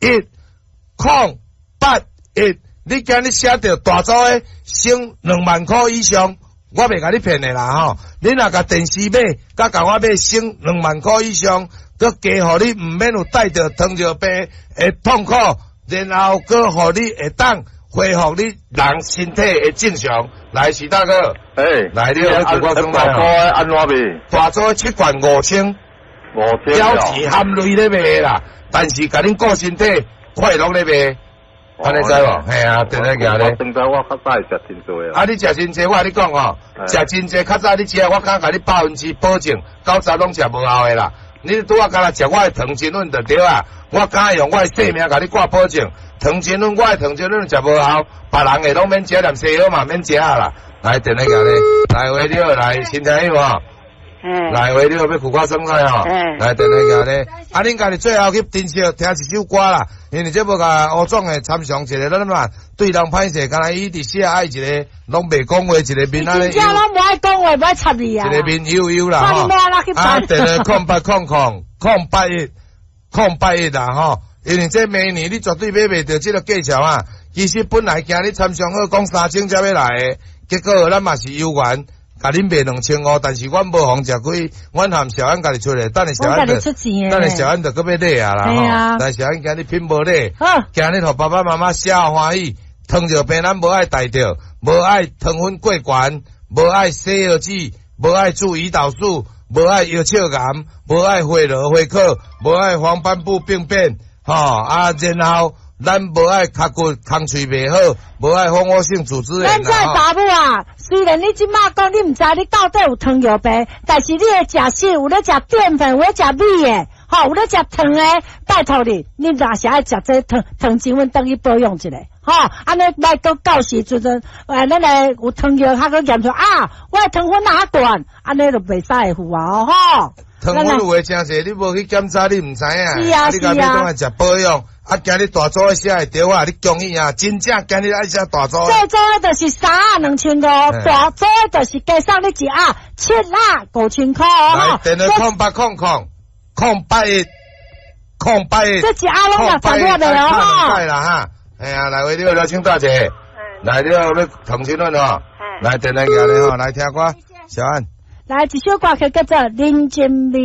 1，081。你今日寫著大組的省2萬箍以上，我袂共你騙的啦吼。你若共電視買，佮共我買省兩萬箍以上，閣加予你毋免有帶著糖尿病的痛苦，然後閣予你會當恢復你人身體的正常。來，徐大哥，來，你有大組按怎賣？大組七罐5000，5000 繳錢含鐳咧賣啦，但是共恁顧身體快樂咧賣。按呢知無？嘿啊，電話寄咧。現在我較早會食真濟啊！你食真濟，我共你講吼，食真濟較早你食，我敢共你百分之保證，90攏食無效的啦。你拄仔敢若食我的糖精粉就對啊，我敢用我的性命共你掛保證，糖精粉我的糖精粉食無效，別人的攏免食，連西藥嘛免食啦。來，電話寄咧，來喂你好，來新聽有無？來喂你好，欲苦瓜生菜吼。來電話寄咧，啊，恁家己最後去珍惜聽一首歌啦，因為這無共吳總的參詳一個，咱嘛對人歹勢，敢若伊直寫愛一個攏袂講話，一個面按呢。真正攏無愛講話，無愛插你啊。一個面憂憂啦吼。啊，電話0800 00 081 081啦吼，因為這明年你絕對買袂著這個價錢啊。其實本來今日參詳好講3000才欲來的，結果咱嘛是有緣。共恁賣2500，但是阮無予食虧，阮含小安家己出來，等下小安就，等下小安就閣欲禮啊啦吼。但小安今日拼無禮，今日予爸爸媽媽寫歡喜，糖尿病咱無愛帶著，無愛糖分過懸，無愛西藥劑，無愛注胰島素，無愛藥笑癌，無愛血羅血克，無愛黃斑部病變，吼啊，然後。咱無愛尻骨空喙袂好，無愛蜂窩性組織炎。咱這查某啊，雖然你這馬講你毋知你到底有糖尿病，但是你的食食有咧食澱粉，有咧食米的，吼，有咧食糖的，拜託你，你若是愛食這糖糖精粉，轉去保養一下，吼，按呢莫閣到時陣，哎，咱的有糖尿較閣驗出啊，我的糖分若較懸，按呢就袂使會付啊，吼。糖分有的誠濟，你無去檢查，你毋知影。是啊，你家己轉來食保養。啊！今日大組的寫會著啊！你恭喜啊！真正今日愛寫大組。細組的就是三盒2500，大組的就是加送你一盒七盒5000箍。來，電話0800 00 081 081。這一盒攏60粒的哦。哈。啦哈！哎呀，來喂，你好，請大姐。來，你好，欲糖精粉吼。來，電話寄來吼，來聽歌，小安。來一首歌曲叫做《人情味》。